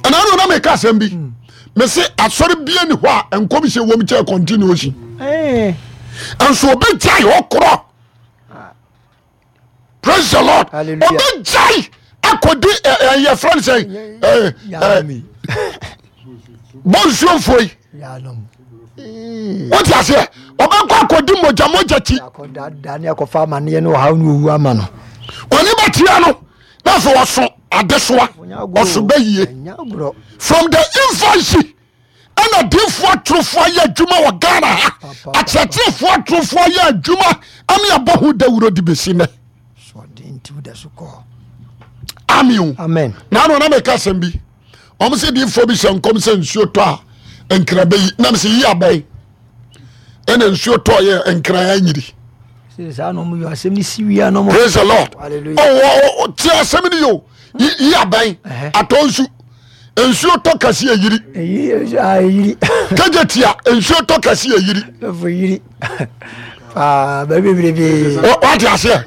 Ɛna ɛna na meka asɛm bi. Hmm. Mese asɔre bia ni hɔ a nkɔmhyɛ wɔm kyɛ continuation. Eh. Nso obɛgyae hɔ korɔ. Ah. Praise the Lord. Obɛgyae akɔdi ɛyɛ frɛ no sɛ bɔnsuomfoɔ yi. Wote aseɛ ɔbɛkɔ akɔdi mogyamogya kyi. Ɔne bɛtia no. Na afei ɔso adesoa, ɔso bɛyie. From the infancy ɛna diifoɔ atorofoɔ ayɛ adwuma wɔ Ghana ha, akyerɛkyerɛfoɔ atorofoɔ ayɛ adwuma ɛne abɔ ho dawuro de bɛsi nnɛ. Amen o. Amen. Na ano na meka asɛm bi. Wɔn sɛ diifoɔ bi hyɛ nkɔm sɛ nsuo tɔ a nkra bɛyi. Nam sɛ yi abɛn. Ɛna nsuo tɔ yɛ nkra anyiri. Praise the Lord. Oh, ti asɛm ni yo. Yi abɛn. Atɔ nsu. Nsuo tɔ kɛse yɛ yiri. Kegye tia nsuo tɔ kɛse yɛ yiri. Wate aseɛ.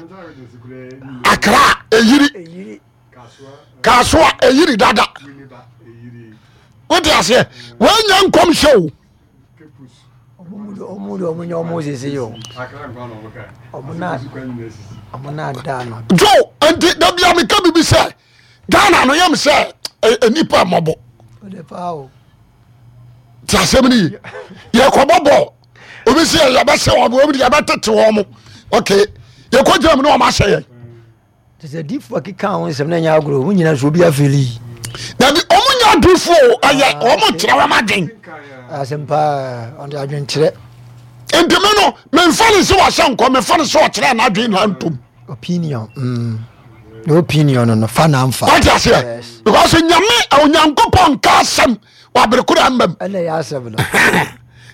Akra eyiri. Kasoa eyiri dada. Wote aseɛ. Wɔanya nkɔmhyɛ o. Jo nti da bia meka biribi sɛ Ghana no yam sɛ nnipa mmɔbɔ. Te asɛm no ye. Yɛkɔbɔ bɔɔl. Obi sɛ yɛbɛhyɛ wɔn, obi yɛbɛtete wɔn mo. Okay. Yɛkɔ gyina mu ne wɔn ahyɛ yɛn. Te sɛ adiifoɔ keka ho nsɛm na ɛnyɛ agorɔ wɔn nyinaa nso obi afeli yi. Dabi wɔn nyɛ adiifoɔ o ɛyɛ ah, wɔn kyerɛ wɔn adwen. Asɛm paa ɔde adwen kyerɛ. Nti mi no mi nfa ne sɛ wahyɛ nkɔ mi fa ne sɛ ɔkyerɛ n'adwen na ntom. Opinion mm. The opinion no no fa na nfa. Wọ́n ti aseɛ because nyame onyankopɔn nka asɛm wɔ abirikura mbam. Ɛna yɛ asɛm no.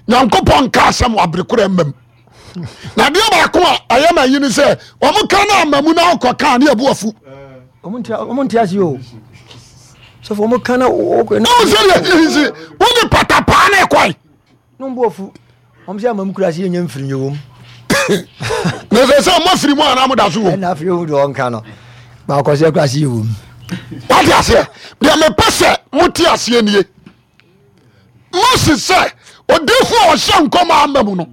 Nyankopɔn nka asɛm wɔ abirikura mbam. Na adeɛ baako a ɛyɛ ma yi ni sɛ wɔn ka no ama mu na ɔkɔ kaa ne abu afu. Wɔn nti ase o. Sɔfo wɔn ka na wɔkɔ. Na wɔn sɛ deɛ ɛyɛ si wɔn de patapaa na ɛkɔe. Na wɔn bu afu. Wɔn sɛ ama mu kura ase yɛ nyɛ mfiri nyɛ wɔm. Na sɛ sɛ wɔn afiri mu anaa mo da so wɔm. Ɛna afei ohun deɛ wɔn ka no. Baako sɛ kura ase yɛ wɔm. Wɔte aseɛ deɛ mepɛ sɛ mo te aseɛ nie. Mose sɛ odiifo a ɔhyɛ nkɔm a ama mu no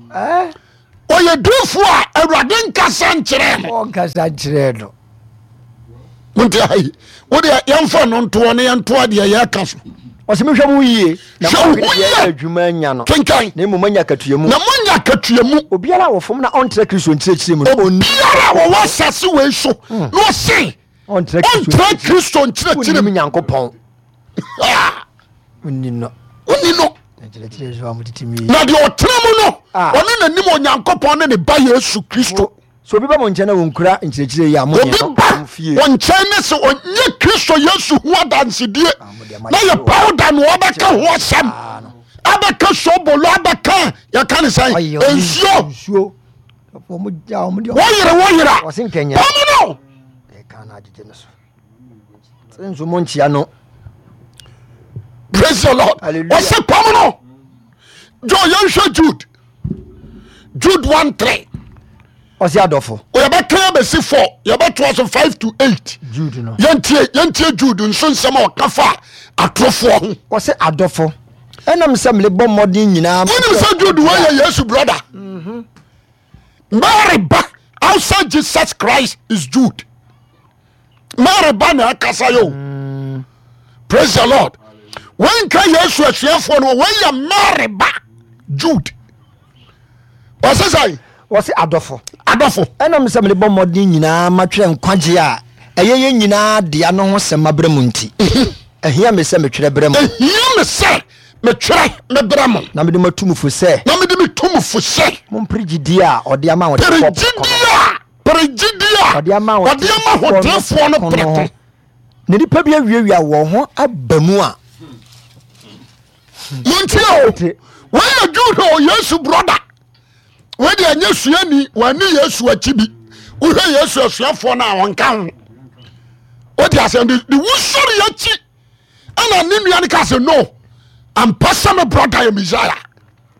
ɔyɛ diifo a awurade nkasa nkyerɛɛ no. Ɔnkasa nkyerɛɛ no. Monte ha yi wodeɛ yɛmfa no ntoɔ ne yɛntoa deɛ yɛka so. Ɔsɛ mehwɛ mo yie na Hwɛ wo moahwɛ ho deɛ yie. adwuma anya no Kenkan. na mmom moanya akatua mu. Na moanya akatua mu. Obiara a wɔfom na ɔntra Kristo nkyerɛkyerɛ mu no, ɔnni Obiara a wɔwɔ asase wei so na ɔse ɔntra Kristo ɔntra Kristo nkyerɛkyerɛ Wonnim mu. Nyankopɔn. Ah! Wonni no. Wonni no. Na deɛ ɔtena mu no, ah. ɔno na nim Onyankopɔn ne ne ba Yesu Kristo. So obi ba mo nkyɛn na wɔnkura nkyerɛkyerɛ yi a mo Obi ba wɔn nkyɛn ne sɛ ɔnyɛ Kristo Yesu ho adansedie ah, na yɛ powder na ɔbɛka ho asɛm ah, abɛka sobolo abɛka yɛka ne sɛn nsuo wɔyere wɔyera pɔm no. Nso mo nkyia no. Praise the Lord. Ɔsɛ pam no. Jɔ yɛnhwɛ Jude. Jude 1 3. Ɔsɛ adɔfo. Yɛbɛka abɛsi 4 yɛbɛtoa so 5 to 8. Jude no. Yɛntie yɛntie Jude nso nsɛm a ɔka fa atorofoɔ ho. Ɔsɛ adɔfo. Ɛnam sɛ mebɔ mmɔden nyinaa. Wonim sɛ Jude wɔ yɛ Yesu brother. Mm -hmm. Mary ba outside Jesus Christ is Jude. Mary ba na ɛkasa yɛ o. Mm. Praise the Lord. Wɔnka Yesu asuafoɔ no wɔyɛ Mary ba Jude. Wɔsɛ sɛ. Wɔsɛ adɔfo. Adɔfo. Ɛnam sɛ mede bɔ mmɔden nyinaa matwerɛ nkwagye a ɛyɛ yɛn nyinaa dea no ho sɛm mabrɛ mu nti. Mhm. Ɛhia me sɛ metwerɛ brɛ mo. Ɛhia me sɛ metwerɛ mebrɛ mo. Na mede matu mo fo sɛ. Na mede metu mo fo sɛ. Mompere gyidie a ɔde ama ahotefoɔ prɛko no. Pere gyidie a ɔde ama ahotefoɔ no prɛko. Na nnipa bi awiawia wɔn ho aba mu a. Montie o, wei yɛ Jude o, Yesu brɔda. Wei deɛ ɛnyɛ suani, wɔne Yesu akyi bi. Wohwɛ Yesu asuafoɔ no a wɔnka ho. Wote asɛm de wusɔre akyi ɛna ne nua no ka sɛ no ampa sɛ me brother yɛ Messiah.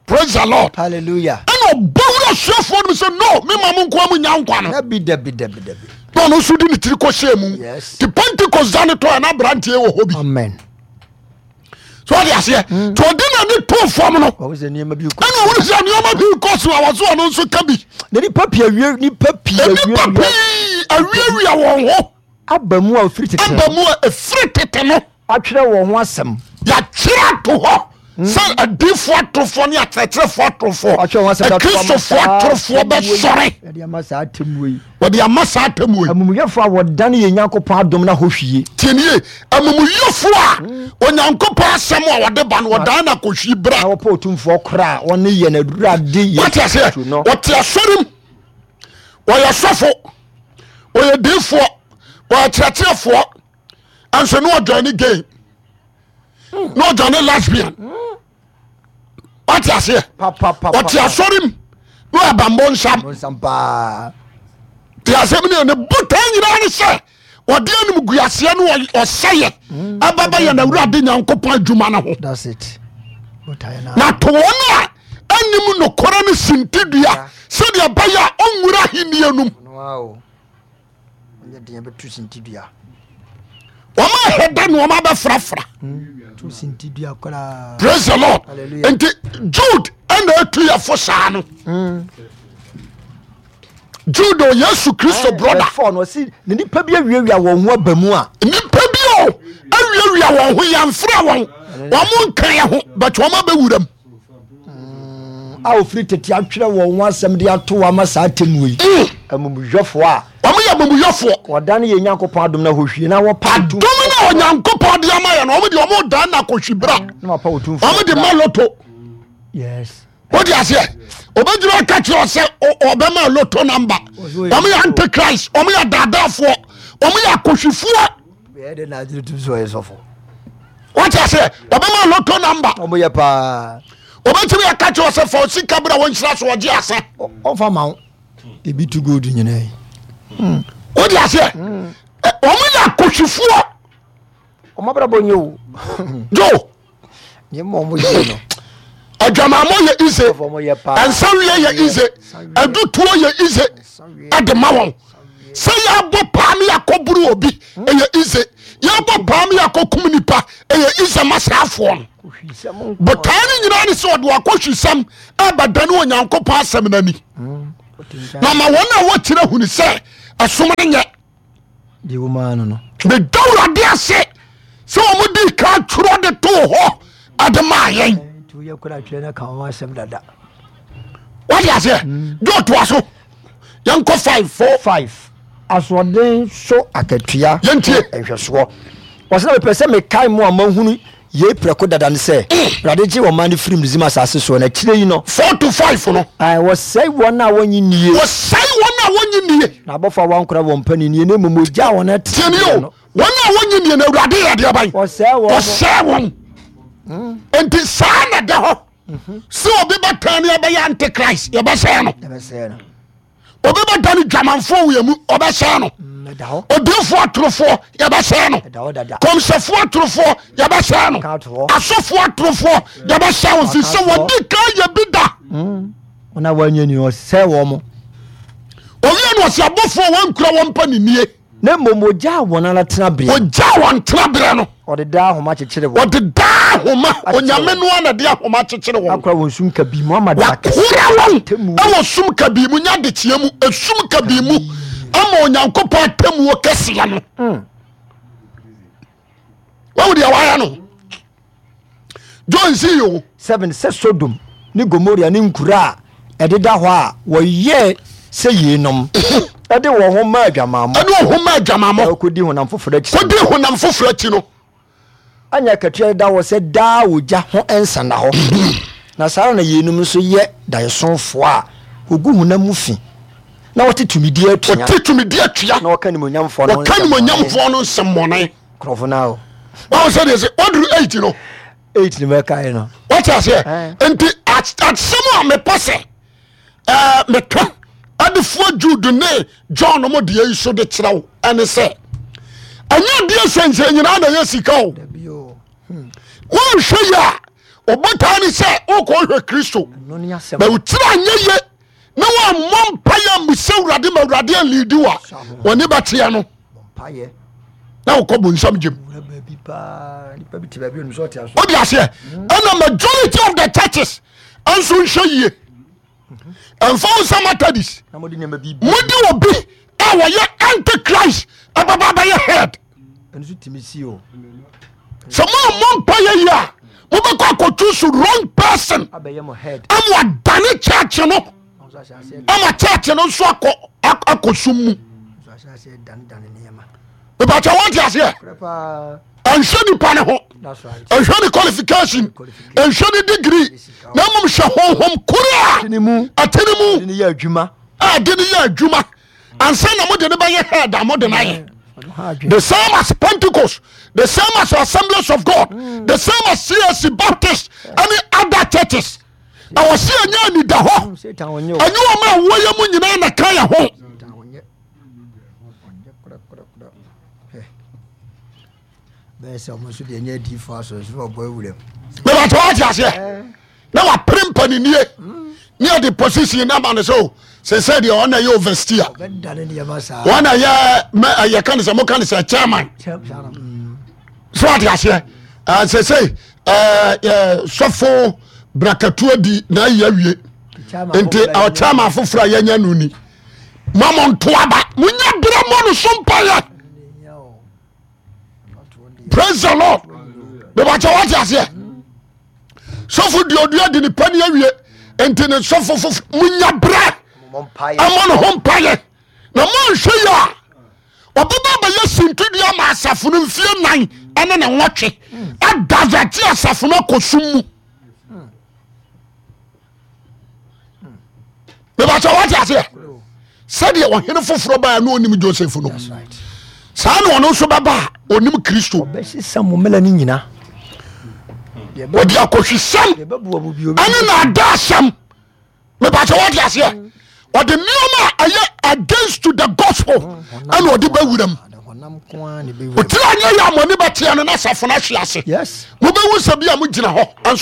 Praise the Lord. Hallelujah. Ɛna ɔbɔ wura asuafoɔ no sɛ no me ma mo nkoa mo nya nkwa no. Dabi dabi dabi dabi. Na ɔno nso de ne tiri kɔ hyɛɛ mu. Yes. Ti Pentecost da ne tɔ ɛna aberanteɛ wɔ hɔ bi. Amen. So ɔde aseɛ. Mm. Tí ɔde n'ani to fam no. Ɔwɔ sɛ nneɛma bi kɔ. Ɛna ɔwɔ sɛ nneɛma bi kɔ so a wɔso ɔno nso ka bi. Na nipa pii awie nipa pii awie. Nipa pii awiawia wɔn ho. Aba mu a efiri tete no. Aba mu a efiri tete no. Atwerɛ wɔn ho asɛm. Yɛatwerɛ ato hɔ. Sɛ adiifoɔ atorofoɔ ne akyerɛkyerɛfoɔ atorofoɔ, Wɔatwerɛ wɔn asɛm de ato ama akristofoɔ saa atorofoɔ atemmuo yi. bɛsɔre. Wɔde ama saa atemmuo yi. Wɔde ama saa atemmuo yi. Amumuyɛfoɔ a wɔdane yɛn Nyankopɔn adom no ahohwie. Tie nie, amumuyɛfoɔ a Onyankopɔn asɛm a wɔde ba no wɔdan no akɔhwie berɛ. Na wɔpɛ otumfoɔ korɔ a wɔne yɛn Awurade Yesu Wate aseɛ? Kristo no. Ɔte asɔre mu, ɔyɛ sɔfo, ɔyɛ diifoɔ, ɔyɛ kyerɛkyerɛfoɔ, nso ne ɔdwane ne gay, ne ɔdwane lesbian. Wate aseɛ? Ɔte asɔre mu ne ɔbambɔ nsam. Te asɛm ne ne botaa nyinaa ne sɛ ɔde anim guaseɛ ne ɔsɛyɛ ɛbɛbɛ yɛn awurade Nyankopɔn adwuma no ho. Na to wɔn a anim nokorɛ no sintidua sɛdeɛ ɛbɛyɛ a ɔnwura ahennie no mu. Wɔn a hɛda na wɔn abɛfrafra. Praise the Lord. Nti Jude ɛna etu yɛ fo saa no. Jude o Yesu Kristo brother. Fɔ no ɔsi na nipa bi awiawia wɔn ho aba mu a. Nipa bi o awiawia wɔn ho yɛnfrɛ wɔn wɔn nka yɛ ho but wɔn abɛwura mu. A ofiri tete atwerɛ wɔn ho asɛm de ato wɔn ama saa atemmuo yi. Amumuyɔfoɔ a. Wɔn yɛ amumuyɔfoɔ. Wɔdane yɛn Nyankopɔn adom no ahohwie na wɔpa Adom no a Onyankopɔn de ama yɛn no wɔn de wɔn dan na akɔhwi bra. Na wɔpa otumfoɔ. Wɔn de ma loto. Yes. Wode aseɛ obɛgyina ɔka kyerɛ sɛ ɔbɛma loto number. Wɔn yɛ antichrist, wɔn yɛ daadaafoɔ, wɔn yɛ akɔhwifoɔ. Wate aseɛ ɔbɛma loto number. Wɔn yɛ paa. Obɛtumi aka kyerɛ sɛ fa sika bra wɔnhyira so ɔgye asa. Ɔmfa ma wo. Ebi tu gold nyinaa yi. Wode aseɛ wɔn yɛ akɔhwifoɔ. Wɔn abrabɔ nyɛ o. Jo. Nneɛma a wɔyɛ no. Adwamammɔ yɛ ize. Nsawie yɛ ize. Adutuo yɛ ize. Ɛde ma wɔn. Sɛ yɛabɔ paa ne yɛakɔboro obi ɛyɛ ize. Yɛabɔ paa ne yɛakɔkum nipa ɛyɛ ize ma saafoɔ no. Botae no nyinaa ne sɛ ɔde wakɔhwisɛm ɛbɛdane Onyankopɔn asɛm no ani. Na ma wɔn a wɔkyerɛ hunu sɛ ɛsom no nyɛ. Deɛ wɔ mu ara no no. Meda Awurade ase sɛ wɔn di ka twerɛ de too hɔ ɛde maa yɛn. Nti woyɛ kora twerɛ no ka wɔn asɛm dada. Wode aseɛ de ɔtoa so yɛnkɔ 5 4 5 asoɔden so akatua Yɛntie. nhwɛsoɔ. Wɔsɛ na mepɛ sɛ mekae mo a moahunu Yei prɛko dada ne sɛ, Awurade gyee ɔman no firii Misraim asase soɔ, na akyire yi no. 4 to 5 no. Ae, wɔsɛe wɔn a wɔnnye nnie. Wɔsɛe wɔn a wɔnnye nnie. Na abɔfoɔ a wɔankora wɔn paninnie, na mmom wɔgyaa wɔn Tie nie ateneneeɛ o, no. wɔn a wɔnnye nnie no, Awurade yɛ deɛ bɛn? Wɔsɛe wɔn. Wɔsɛe wɔn. Enti saa na ɛda hɔ sɛ obi bɛtɛn ne ɛbɛyɛ antichrist, yɛbɛsɛe no. Yɛbɛsɛe no. Obi bɛdane dwamanfoɔ wɔ yɛn mu, ɔbɛsɛe no. Odiyifoɔ atorofoɔ, yɛbɛsɛe no. Kɔmhyɛfoɔ atorofoɔ, yɛbɛsɛe no. Asɔfoɔ atorofoɔ, yɛbɛsɛe wɔn, firi sɛ wɔdi kan yɛ bi da. Wɔn a wɔanyɛ ni ɔsɛe wɔn. Owie no ɔsɛ abɔfoɔ a wɔnkura wɔn mpa ne nie. Na mmom ogyaa wɔn ara tenaberɛ. Ogyaa wɔn tenaberɛ no. Ɔde daa ahoma kyekyere wɔn. Ɔde daa ahoma. Onyame no ara na de ahoma kyekyere wɔn. Akora wɔn sum kabii mu ama da kɛse. Wakora wɔn wɔ sum kabii mu, nya adekyeɛ mu, esum kabii mu ama Onyankopɔn atemmuo kɛseɛ no. Wɔn deɛ wɔayɛ no. John si o. 7 sɛ Sodom ne Gomoria ne nkuro a ɛdeda hɔ a wɔyɛɛ sɛ yeinom de wɔn ho maa adwamammɔ. Ɛde wɔn ho maa adwamammɔ. Na wɔkɔdi honam foforɔ akyi. Kɔdi honam foforɔ akyi no. Anya akatua deda hɔ sɛ daa ogya ho nsa nna hɔ. Na saa ara na yeinom nso yɛ daeɛsomfoɔ a wɔgu honam mu fi na wɔte tumidie atua. Wɔte tumidie atua. Na wɔka animuonyamfoɔ no Wɔka animuonyamfoɔ no nsɛmmɔne. Nkurɔfo no o. Wɔn sɛ deɛ sɛ wɔduru 8 no. 8 no bɛkae no. Wɔte aseɛ. Nti asɛm a mepɛ sɛ ɛɛ meka adefoɔ Jude ne John mo deɛ yi so de kyerɛ wo ɛne sɛ ɛnyɛ adeɛ sɛnsɛn nyinaa na ɛyɛ sika o. Wɔnhwɛ yie a ɔbɔtaa ne sɛ wokɔ hwɛ Kristo na wotiri anyɛ yie na wɔammɔ mpaeɛ ammisa Awurade ma Awurade anliidi wo a wɔne bɛteɛ no na wokɔ bonsam gyem. Wode aseɛ ɛna majority of the churches nso nhwɛ yie ɛmfa wo sɛ Methodist mode obi a wɔyɛ antichrist ɛbɛba bɛyɛ head. Sɛ moammɔ mpa yɛ yi a, mobɛkɔ akɔtu so wrong person ama wadane church no, ama church no nso akɔ akɔ sum mu. Mepakyɛ wɔnte aseɛ? Ɛnhwɛ nipa ne ho, ɛnhwɛ ne qualification, ɛnhwɛ ne degree, na mmom hwɛ honhom koro a ɛte ne mu a de ne yɛ adwuma ansa na mode ne bɛyɛ head a mode no ayɛ. The same as Pentecost, the same as Assemblies of God, the same as CAC, Baptist, any other churches. Ɛwɔ sɛ ɛnyɛ anida hɔ, ɛnyɛ wɔn a wɔyɛ mu nyinaa na ka yɛ ho. Mebɛtɛ wate aseɛ na wapere mpaninie ne yɛde position no ama no sɛ o sɛsɛ deɛ ɔna yɛ oversteer, ɔna yɛ yɛka ne sɛ moka ne sɛ chairman, so wate aseɛ sɛsɛ sɔfo brakatuo di na ayi awie nti chairman foforɔ a yɛnya no ni ma mo nto aba, monya berɛ mmɔ no so mpayɛ. Praise the Lord. Mebakyɛ wate aseɛ, sɔfo duodua de nipa ni awie nti ne sɔfo fofo munya berɛ ɛmɔ ne ho mpayɛ na moanhwɛ yi a ɔbɛba bɛyɛ sintidua ma asafo no mfie 4 ɛne ne nwɔtwe adavɛte asafo no akɔ sum mu. Mebakyɛ wate aseɛ, sɛdeɛ ɔhene foforɔ baa na ɔnim Joseph no, saa na ɔno nso bɛba a ɔnim Kristo. Ɔbɛsesa mo mmara no nyina. Ɔde akɔhwisɛm ɛne naadaasɛm. Mebakyɛ wate aseɛ, ɔde nneɛma a ɛyɛ against to the gospel ɛna ɔde bɛwura mu. Ɔtiri anyɛ yɛ a mo ani bɛteɛ no na asafo no ahwe ase. Mobɛhu sɛ bi a mogyina hɔ nso.